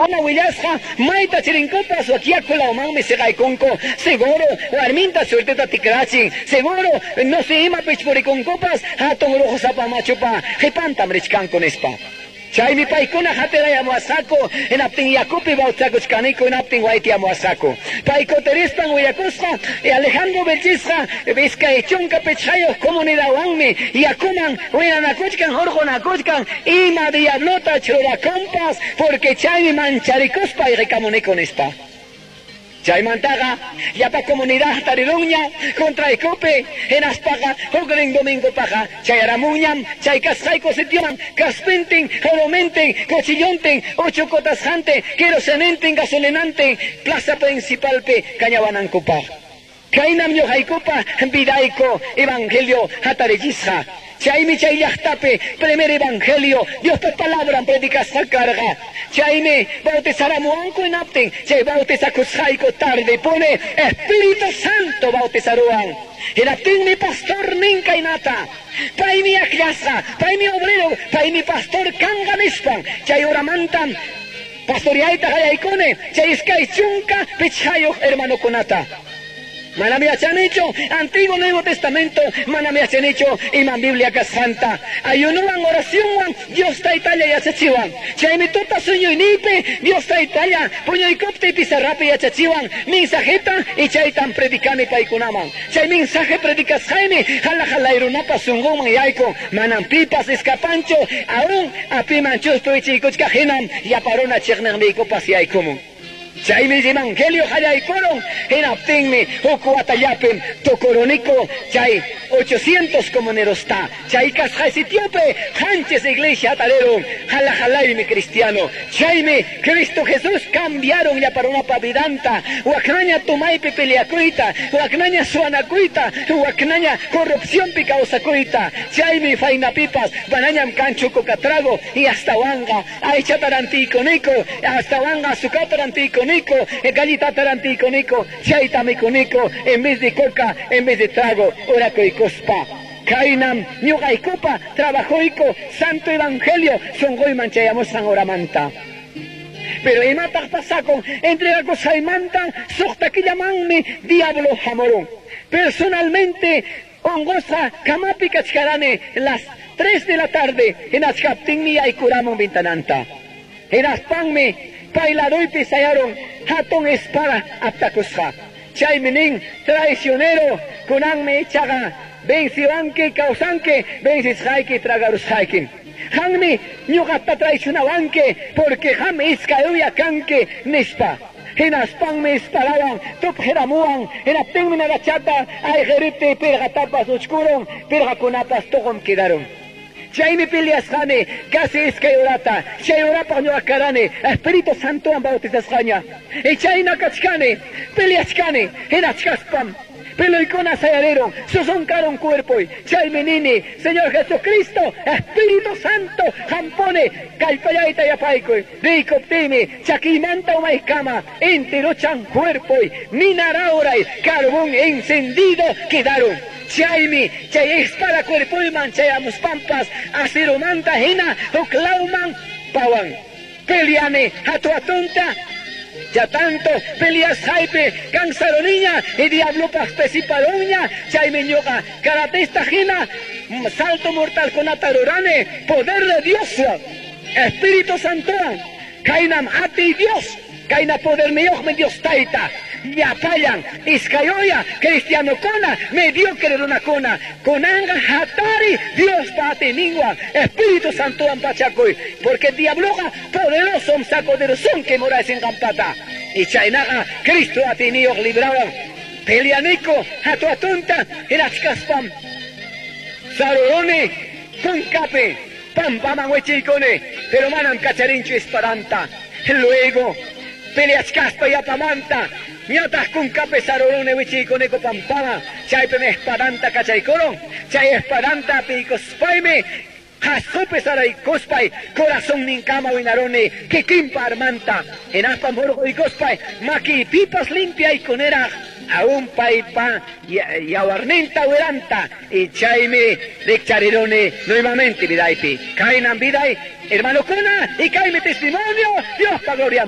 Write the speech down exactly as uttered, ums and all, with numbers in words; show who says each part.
Speaker 1: Paykuna willasqa mayta chirinkupas wakiyaku lawmanmi siqaykunku. Seguro warminta suerteta tikrachin. Seguro no sé imapich purikunkupas hatun ruqusapa machupa qipantam richkanku nispa. Chaymi paykuna hatirayamuwasqaku hinaptin yakupi bautizakuchkaniku hinaptin waytiyamuwasqaku. Paykuterispan willakusqa Alejandro Vilchisqa iskay chunka pichqayuq comunidadwanmi yakuman winanakuchkan hurqunakuchkan ima diablota churakunpas porque chaymi mancharikuspa ayqikamuniku nispa. Chaymantaqa llapa comunidad tarirunña contraykupi hinaspaqa huknin domingopaqa chayaramunñam chay kasqayku sitioman kaspintin joromintin cuchillontin uchukutasqantin kerosenintin gasolinantin plaza principalpi kañawanankupaq. Kaynam ñuqaykupa vidayku evangelio hatarichisqa. Chaymi chay llaqtapi primer evangelio Diospa palabran predicasqa karqa. Chaymi bautizaramuwanku hinaptin chay bautizakusqayku tarde pone Espíritu Santo bautizaruwan. Hinaptinmi pastor nin kaynata. Paymi akllasqa, paymi obrero, paymi pastor kanqa nispan. Chay horamantam pastoriayta qallaykuni chay iskay chunka pichqayuq hermanokunata. Manam yachanichu Antiguo Nuevo Testamento, manam yachanichu imam Biblia kasqanta. Ayunuwan oracionwan Dios taytalla yachachiwan. Chaymi tuta sueñoynipi Dios taytalla puñuykuptiy pizarrapi yachachiwan mensajeta y chaytan predicani paykunaman. Chay mensaje predicasqaymi hala halayrunapas sunqunman yaykun. Manam pipas escapanchu aún apiman chuspu ichiykuchkaq hinam yaparuna chiqniqniykupas yaykumun. Chaymi evangelio qallaykurun hinaptinmi huk watallapim tukuruniku chay ochocientos comunerosta chay kasqay sitiopi qanchis iglesia tarirun hala halaymi cristiano. Chaymi Cristo Jesús cambiaron llaparunapa vidanta waknaña tumaypi peleakuyta waknaña suwanakuyta waknaña corrupcionpi kawsakuyta. Chaymi faynapipas manañam kanchu coca trago y astawanqa aychata rantiykuniku astawanqa azúcarta rantiykuniku gallita taranticoniko, chayta mikuniko, en vez de coca, en vez de trago, orakuykuspa. Kaynam ñuqaykupa trabajoyku santo evangelio sunquyman chayamusqan horamanta. Pero imataq pasakun entregakusqaymanta suqta killamanmi diablo hamurun. Personalmente unqusqa kamapi kachkarani las tres de la tarde hinachkaptinmi yaykuramun ventananta. Hinaspanmi paylaruypi sayaron hatun espada aptakusqa. Chaymi nin traicionero kunanmi ichaqa venciwanki kawsanki vencisqayki tragarusqayki. Qanmi ñuqata traicionawanki porque qam iskay uya kanki nispa. Hinaspanmi espadawan tupqiramuwan hinaptinmi narachata ayqiriptiy pirqatapas uchkurun pirqakunapas tuqum quedaron. Chaymi peleasqani casi iskay horata chay horapaq ñuqa karani Espíritu Santowan bautizasqaña. Y chayna kachkani peleachkani hinachkaspam peloykuna sayarirun susunkarun cuerpoy. Chaymi nini Señor Jesucristo Espíritu Santo hampuni kallpallayta yapaykuy riykuptiymi chakiymanta umaykama intiruchan cuerpoy ninarawray carbón encendido quedaron. Chaymi chay espada cuerpoyman chayamuspampas acirumanta hina huklawman pawan. Peleani hatu atunta ya tanto peleasqaypi cansaroniña y diablopas pesiparuña. Chaymi ñuqa karatista hina salto mortal kunata rurani poder de Dios Espíritu Santowan kaynam atiy Dios kayna poderniyuqmi Dios tayta. Llapallan iskayoya cristianokuna mediocre runakuna kunanqa hatari Diospa atiyninwan Espíritu Santowan pachakuy porque diabloqa poderoso sacoderosunki muraysinqanpata. Y chaynaqa Cristo atiyniyuq librawan peleaniku hatu atunta hinachkaspam saruruni kunkapi pampaman wichiykuni pero manam kacharinchu espadanta. Luego peleachkaspa yapamanta ñataq kunkapi saruruni wichiykuniku pampama chaypimi espadanta kachaykurun chay espadanta apiykuspaymi qhasqupi saraykuspay corazonninkama winaruni kikinpa armanta hinaspa murquykuspay makiypipas limpiaykuniraq aún paypa yawarninta wiranta y chaymi rikchariruni nuevamente vidaypi. Kaynam viday hermanokuna y kaymi testimonio Diospa glorianpaq.